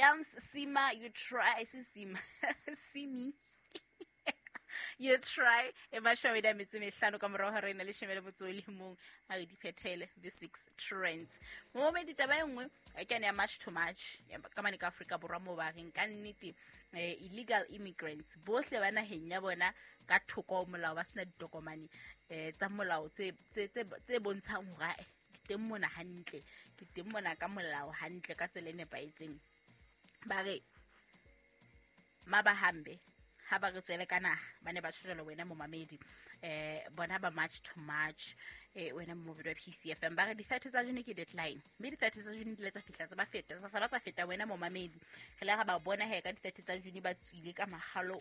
Yams Sima you try se Sima Simi you try e mashome a mabedi a metso e mehlano ka morago ga rena leshome le motso o le mong a re di phethele this week's trends. Momedi taba e nngwe e ke yane ya March to March ka mane ka Afrika Borwa mo ba reng ka nnete illegal immigrants bohle ba naheng ya bona ka thoko ho molao ba sena ditokomane tsa molao tse bontshang hore ke teng mona hantle, ke teng mona ka molao hantle ka tsela e nepahetseng. Ba re mabahambe ha ba re tswele ka naha ba ne ba tshwela wena momamedi bona ba March to March wena momamedi wa PCFM ba re di-30 tsa June ke deadline, mme di-30 tsa June di ile tsa fihla tsa ba feta tsa ba tsa feta wena momamedi. Re le ga ba bona he ka di-30 tsa June ba tswile ka magalo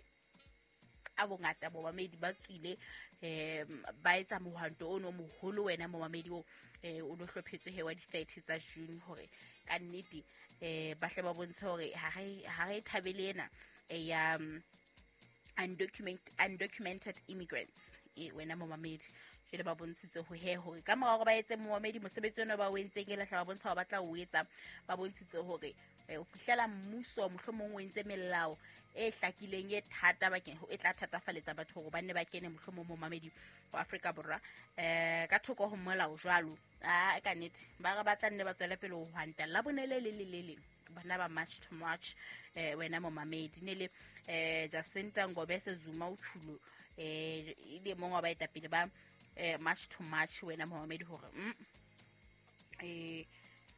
ka bongata momamedi ba tswile ba etsa mohwanto ono moholo wena momamedi o o lo hlophetswe he wa di-30 tsa June hore ka nnete ba hle ba bontshe hore ha re thabele ena ya undocumented immigrants wena momamedi. Jwale ba bontshitse ho he hore ka mora hore ba etse momamedi mosebetsi ona ba o entseng e lahla ba bontsha hore ba tla o etsa, ba bontshitse hore o fihlela mmuso mohlomong o entse melao e hlakileng e thata bakeng e tla thatafaletsa batho hore ba nne ba kene mohlomong momamedi wa Afrika Borwa ka thoko ho molao jwalo. A ka nnete ba re ba tla nne ba tswele pele ho hwanta la bone le le le le leng bana ba March to March wena momamedi ne le Jacinta Ngobese Zuma o tshulo e le mong wa baetapele ba March to March wena momamedi hore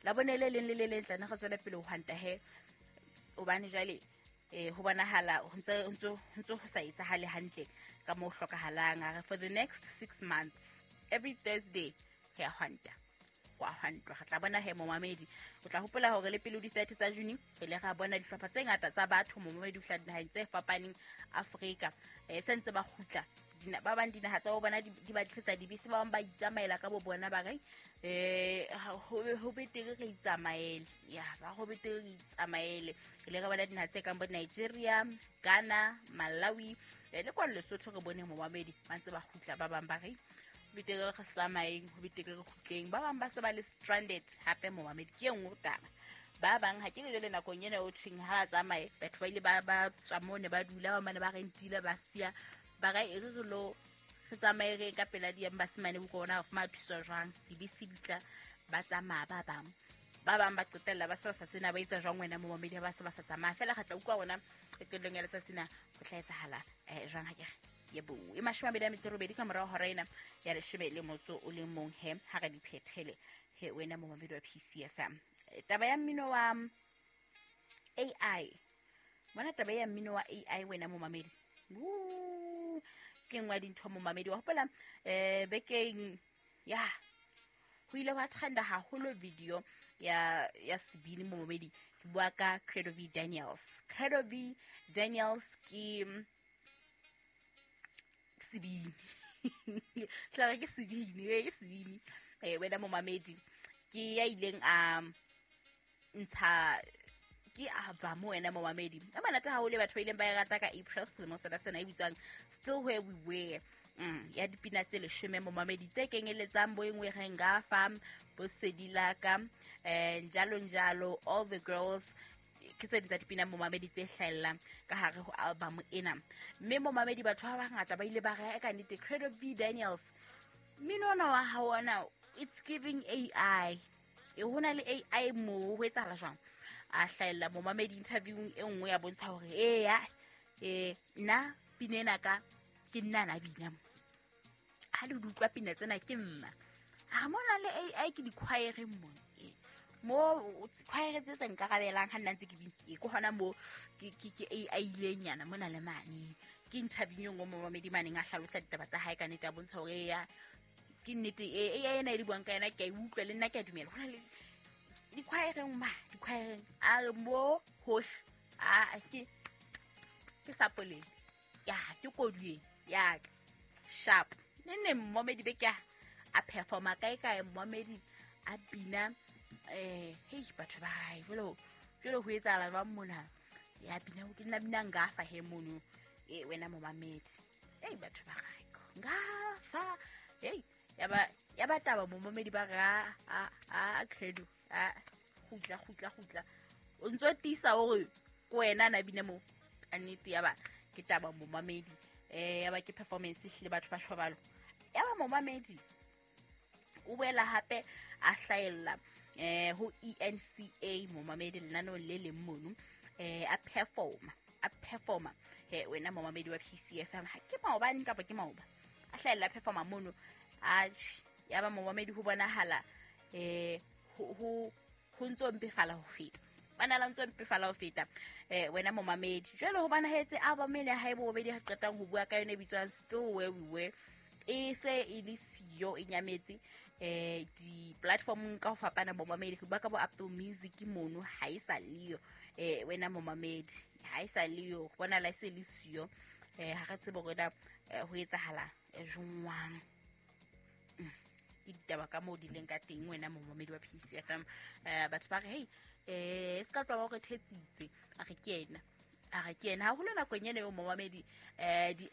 la bone le leng le le leng tla re tswele pele ho hwanta he hobane jwale ho bonahala ho ntse ho sa etsahale hantle ka moo hlokahalang. A re for the next 6 months every Thursday re ya hwanta wa hwantwa. Re tla bona he momamedi o tla hopola hore le pele ho di-30 tsa June re ile ra bona dihlopha tse ngata tsa batho momamedi ho hla dinaheng tse fapaneng Afrika se ntse ba kgutla ba bang dinaha tsa bo bona di ba tlisetsa dibese, ba bang ba itsamaela ka bo bona ba re ho betere re itsamaele, ya ba ho betere re itsamaele. Re ile ra bona dinaha tse kang bo Nigeria, Ghana, Malawi le kwa Lesotho re bone momamedi ba ntse ba kgutla, ba bang ba re betere re tsamaeng, ho betere re kgutleng, ba bang ba se ba le stranded hape momamedi. Ke e nngwe taba, ba bang ha ke re jwale nakong ena o thweng ha ba tsamaye batho ba ile ba tswa moo ne ba dula, ba mane ba rentile ba siya ba re e re re lo re tsamaye re ka pela di-embassy mane bo kona ho fumana thuso jwang, dibese di tla ba tsamaya ba bang ba bang ba qetella ba se ba sa tsena ba etsa jwang wena momamedi ha ba se ba sa tsamaya fela. Re tla utlwa rona qetellong ya letsatsi na ho tla etsahala jwang ha ke re yebo e 28 ka morao hora ena ya 11 he ha re di phethele he wena momamedi wa PCFM. Taba ya mmino wa AI, bona taba ya mmino wa AI wena momamedi ke nngwe ya dintho momamedi wa hopola bekeng ya ho ile hwa trenda haholo video ya sebini momamedi, ke bua ka Credo V Daniels. Credo V Daniels ke sebini hlare ke sebini ke sebini wena momamedi ke ya ileng a ntsha ke album wena momamedi e monate haholo batho ba ileng ba e rata ka April selemo sena sena e bitswang Still Where We Were ya dipina tse 10 momamedi tse kenyeletsang bo engwe re ngafa bo sedilaka njalo njalo all the girls ke tse ding tsa dipina momamedi tse hlahellang ka hare ho album ena. Mme momamedi batho ba bangata ba ile ba re ka nnete Credo V Daniels mmino ona wa hao ona it's giving AI, e hona le AI mo ho etsahala jwang. A hlahella momamedi interviewing e nngwe ya bontsha hore eya nna pina ena ka ke nna na bina mo ha le utlwa pina tsena ke nna ha mona le AI ke di-choireng mo mo choir tse tse nkarabelang ha nna ntse ke bina ke hona mo ke AI ileng nyana mona le mane. Ke interview ngwe momamedi maneng a hlalosa ditaba tsa hae ka nnete a bontsha hore eya ke nnete AI ena e le buang ka yona ke a e utlwa le nna ke a dumela hona le di-choireng ma di-choireng a re mo hohle a ke sapoleng ya ke kodueng ya ka sharp ne ne momamedi be ke a performa kae kae momamedi a bina hei batho ba hae jwale jwale ho etsahala jwang mona ya bina ke nna bina ngafa he mono wena momamedi ei batho ba hae ngafa ei ya ba taba momamedi ba re a Credo a kgutla kgutla kgutla O ntso tiisa hore ke wena na bina moo. Ka nnete ya ba ke taba momamedi. Ya ba ke performance ehlile batho ba shobalo. Ya ba momamedi o boela hape a hlahella ho ENCA momamedi lenaneong le leng mono, a performa wena momamedi wa PCFM. Ha ke maobane kapa ke maoba a hlahella performa mono. Atjhe, ya ba momamedi ho bonahala ho ntso mpefala ho feta. Bana la ntso mpefala ho feta wena momamedi. Jwale ho bonahetse album ena ha e bobedi ha qetang ho bua ka yona e bitswang Still Where We Were, e se e le siyo, e nyametse di-platformong ka ho fapana momamedi. Ba ka bo Apple Music mono ha e sa leyo, wena momamedi ha e sa leyo, bona la e se le siyo. Ha re tsebe hore na ho etsahala jwang. Ke ditaba ka moo di leng ka teng wena momamedi wa PCFM. Batho ba re hey, se ka tloha ba re thetsitse, a re ke yena, a re ke yena. Haholo nakong ena eo momamedi, di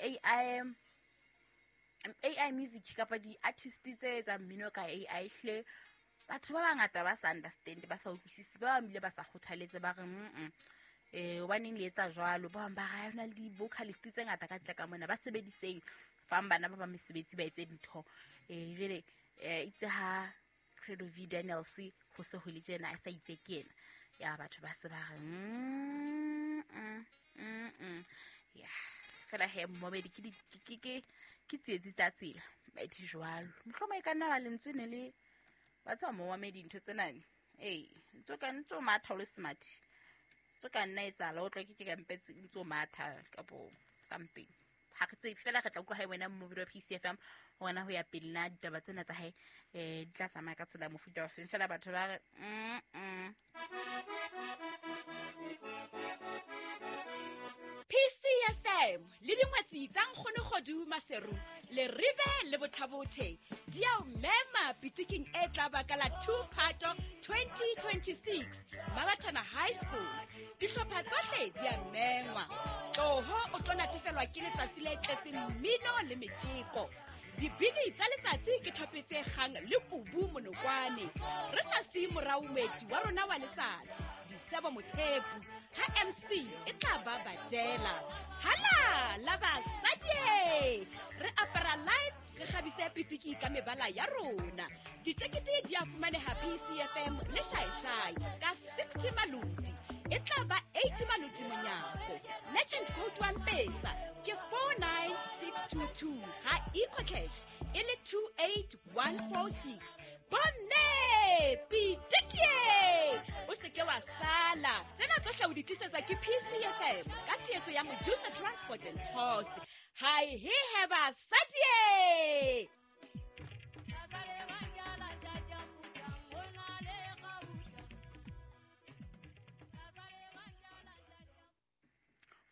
AI music kapa di-artist tse etsang mmino ka AI hle, batho ba bangata ba sa understand, ba sa utlwisisi, ba bang bile ba sa kgothaletse, ba re hobaneng le etsa jwalo. Ba bang ba re ha hona le di-vocalist tse ngata ka ntle ka mona, ba sebediseng fang bana ba ba mesebetsi ba etse dintho. Jwale itse ha Credo V Daniels ho se ho le tjena, a sa itse ke yena, ya batho ba se ba re ya fela he momamedi ke ke tsietsi tsa tsela ba di jwalo. Mohlomong e ka nna ba lentswe ne le ba tseba momamedi ntho tsena. Ntso ka ntso matha o le smart, ntso ka nna etsahala o tla ke ka mpetse ntso matha kapo something. Ha re tsebe fela, re tla utlwa hae wena momamedi wa PCFM hona ho ya pele na ditaba tsena tsa hae di tla tsamaya ka tsela mofuta wa feng. Fela batho ba re PCFM le dingwetsi tsa Nkgono Kgodu Maseru le Rive le Bothabothe di a o mema pitiking e tla ba ka la 2 Phato 2026 Mabatana High School. Dihlopha tsohle di a mengwa. Tloho o tlo natefelwa ke letsatsi le tletseng mmino le metjeko. Dibini tsa letsatsi ke thope tse kgang le kubu monokwane. Re sa siye morao moeti wa rona wa letsatsi, Disebo Mothepu, ha MC e tla ba badela. Hala la basadi! Re apara live, re kgabise pitiki ka mebala ya rona. Ditekete di a fumaneha PCFM le Shaeshai ka 60 maloti. E tla ba 80 maloti monyako. Merchant code wa Mpesa ke 49622, ha EcoCash e le 28146. Bomme pitikie, o se ke wa sala. Tsena tsohle o di tlisetswa ke PCFM ka tshehetso ya Mojusa Transport and Tours. Hai he he basadi!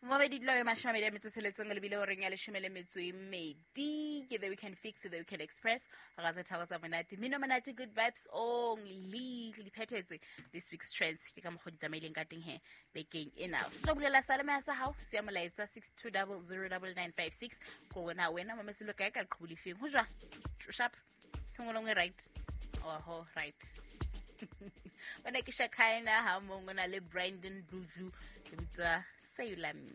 Momamedi dula 26 lebile horeng ya 12 ke The Weekend Fix, The Weekend Express, ga tse tharo tsa monate, mmino monate, good vibes only. Le phethetse this week's trends ke ka mokgwa di tsamaileng ka teng he bekeng ena. So bulela salema ya sa hao siya molaetsa 62009956 ko wena wena mametselo kae ka qhubu lefeng ho jwa sharp ngwe right oho right. Wena ke Shakaina ha mongwe na le Brandon Bluju le bitswa Say You Love Me.